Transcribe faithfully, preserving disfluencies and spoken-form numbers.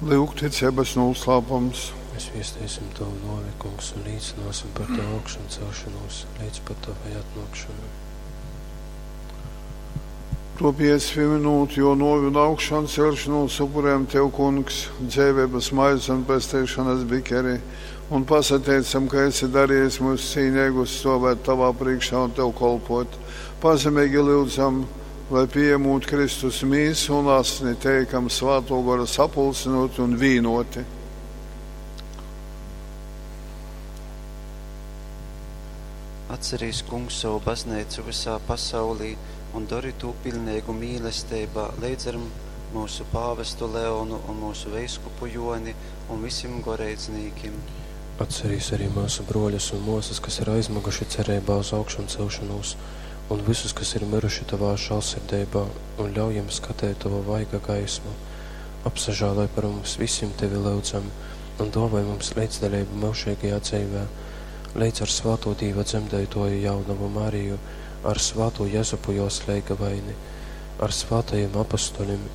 Lyugticeibas nūslāpums. Mēs viesteisim Tavu nōvi, Kungs, un līcināsim par Tavu augšancelšanos līdz pat Tavai atnākšanai. To pieminot, jo nōvi un augšancelšanos upurējam Tev, Kungs, dzeiveibas maizi un pesteišanas bikeri, un pasateicam, ka esi darījis mūs cīneigus stovēt Tavā priekšā un Tev kolpot. Pazemeigi lyudzam, lai pieņemot Kristus mīsu un asni, teikam Svāto Gora sapulcinot un vīnoti. Atcerīs, Kungs, savu baznīcu visā pasaulī un dori tū pilneigu mīlesteibā leidz ar mūsu pāvestu Leonu un mūsu veiskupu Joni un visim goreidznīkim. Atcerīs arī mūsu broļus un māsas, kas ir aizmuguši cerībā uz augšancelšanos, un visus, kas ir miruši Tavā žēlsirdībā, un ļauj jiem skatēt Tavu vaiga gaismu. Apsažāloj par mums visiem Tevi lūdzam, un dāvāj mums līdzdaļību mūžīgajā dzīvē, līdz ar Svāto Dīva dzemdētoju jaunavu Mariju, ar Svāto Jezupu jos leigavaini, ar svātajiem apustuļiem